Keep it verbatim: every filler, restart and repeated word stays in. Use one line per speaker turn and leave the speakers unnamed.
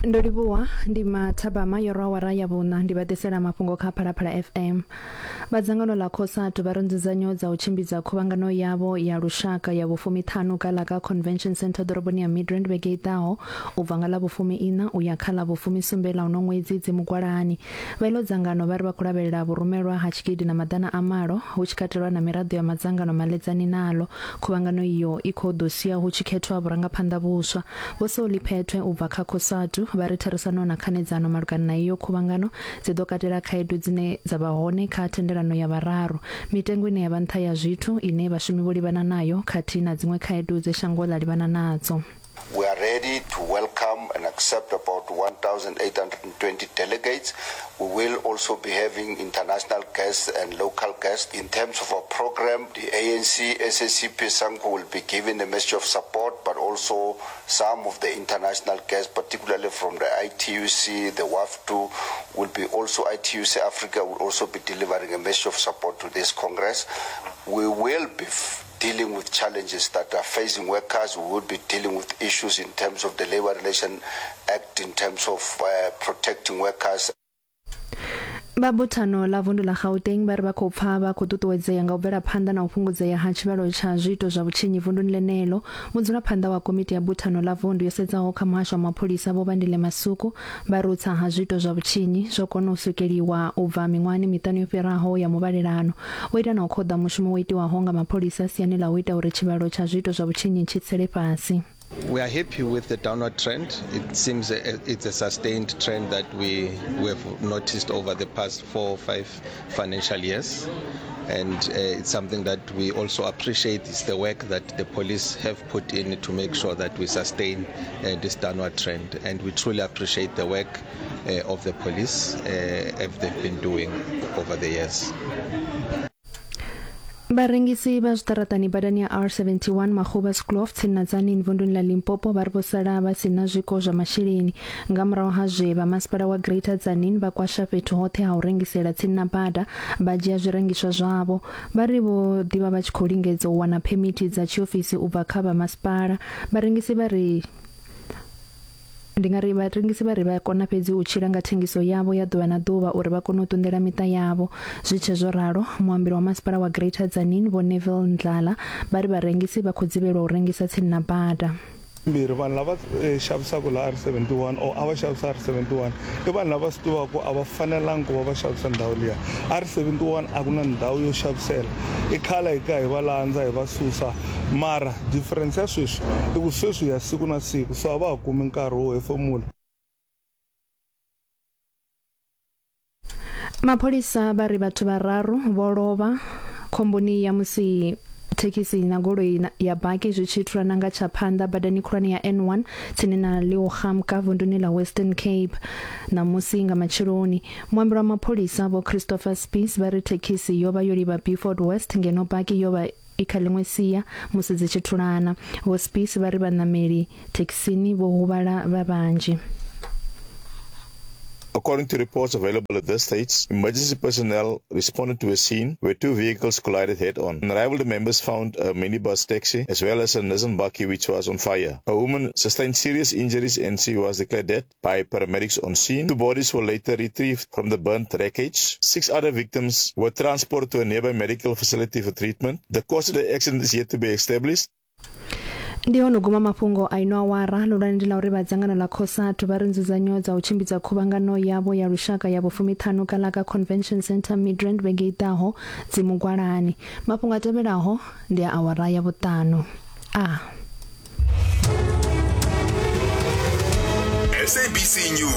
Ndo livhuwa ndi mathabama yo rwa awara ya vhuṋa ndi vha ḓisela mafhungo kha Phalaphala F M. Vha dzangano ḽa COSATU vha ri nzudzanyo dza u tshimbidza khuvhangano yavho ya lushaka ya vhufumiṱhanu kha ḽa ka Convention Centre ḓoroboni ya Midrand vhege i ḓaho u bva nga ḽa vhufumi iṋa u ya kha ḽa vhufumisumbe ḽa uno ṅwedzi dzi mugwalani. Vha iḽo dzangano vha ri vha khou lavhelela vhurumelwa ha tshigidi na maḓana a malo hu tshi katelwa na miraḓo ya madzangano maledzani nalo. Khuvhangano iyo i khou ḓo sia hu tshi khethwa vhurangaphanḓa vhuswa. Vho Soli Phethwe u bva kha COSATU vha ri therisano na khanedzano malugana na iyo khuvhangano dzi ḓo katela khaedu dzine dza vha hone kha thendelano ya vhararu, mitengo ine ya vha nṱha ya zwithu ine vhashumi vho livhana nayo khathihi na dziṅwe khaedu dze shango ḽa livhana nadzo.
We are ready to welcome and accept about one thousand eight hundred twenty delegates. We will also be having international guests and local guests. In terms of our program, the A N C, S A C P, SANCO will be giving a message of support, but also some of the international guests, particularly from the I T U C, the W A F two, will be also I T U C Africa will also be delivering a message of support to this Congress. We will be f- dealing with challenges that are facing workers. We will be dealing with issues in terms of the Labour Relations Act, in terms of uh, protecting workers.
Vha buthano ḽa vundu ḽa Gauteng vha ri vha khou pfa vha khou ṱuṱuwedzea nga u bvela phanḓa na u fhungudzea ha tshivhalo tsha zwiito zwa vhutshinyi vunduni ḽeneḽo. Mudzulaphanḓa wa komiti ya buthano ḽa vundu yo sedzaho kha muhasho wa mapholisa Vho Bandile Masuku vha ri u tsa ha zwiito zwa vhutshinyi zwo kona u swikeliwa u bva miṅwahani miṱanu yo fhiraho ya muvhalelano. Vho ita na u khoḓa mushumo wo itiwaho nga mapholisa siani ḽa u ita uri tshivhalo tsha zwiito zwa vhutshinyi tshi tsele fhasi.
We are happy with the downward trend. It seems a, it's a sustained trend that we, we have noticed over the past four or five financial years. And uh, it's something that we also appreciate is the work that the police have put in to make sure that we sustain uh, this downward trend. And we truly appreciate the work uh, of the police uh, as they've been doing over the years.
Vharengisi vha zwiṱaraṱani badani ya R seventy-one Magoebaskloof tsini na Tzaneen vunduni ḽa Limpopo vha ri vho sala vha si na zwiko zwa masheleni nga murahu ha zwe vha masipala wa Greater Tzaneen vha kwasha fhethu hoṱhe ha u rengisela tsini na bada vha dzhia zwirengiswa zwavho. Vha ri vho ḓivha vha tshi khou lingedza u wana phemithi dza tshiofisi u bva kha vha masipala. Vharengisi vha ri ndi nga ri vharengisi vha ri vha kona fhedzi u tshila nga thengiso yavho ya ḓuvha na ḓuvha uri vha kone u ṱunḓela miṱa yavho. Zwi tshe zwo ralo, muambeli wa masipala wa Greater Tzaneen Vho Neville Ndlala vha ri vharengisi vha khou dzivhelwa u rengisa tsini na bada.
Mbirhi vanhu lava xavisaka la R seventy-one or a va xavisa R seventy-one i vanhu lava swi tivaka a va fanelangi ku va va xavisa ndhawu liya. R seventy-one a ku na ndhawu yo xavisela, i khale hi ka hi va landza hi va susa, mara difference ya sweswi i ku sweswi ya siku na siku, so a va ha kumi nkarhi wo hefemula.
Mapholisa vha ri vhathu vhararu vho lovha khomboni ya musi thekhisi na goloi ya baki zwi tshi thulana nga tsha phanḓa badani khulwane ya N one tsini na Leeugamka vunduni ḽa Western Cape ṋamusi nga matsheloni. Muambeli wa mapholisa Vho Christopher Spies vha ri thekhisi yo vha yo livha Beaufort West ngeno baki yo vha i kha ḽiṅwe sia musi dzi tshi thulana. Vho Spies vha ri vhaṋameli thekhisini vho huvhala vha vhanzhi.
According to reports available at this stage, emergency personnel responded to a scene where two vehicles collided head-on. On arrival, the members found a minibus taxi as well as a Nissan bakkie which was on fire. A woman sustained serious injuries and she was declared dead by paramedics on scene. Two bodies were later retrieved from the burnt wreckage. Six other victims were transported to a nearby medical facility for treatment. The cause of the accident is yet to be established.
Ndi hone guma mafhungo a ino awara lulwane ndi ḽa uri vha dzangano ḽa COSATU vha ri nzudzanyo dza u tshimbidza khuvhangano yavho ya lushaka ya vhufumiṱhanu kha ḽa ka Convention Centre Midrand vhege i ḓaho dzi mugwalani. Mafhungo a tevhelaho ndi a awara ya vhuṱanu. A
S A B C News.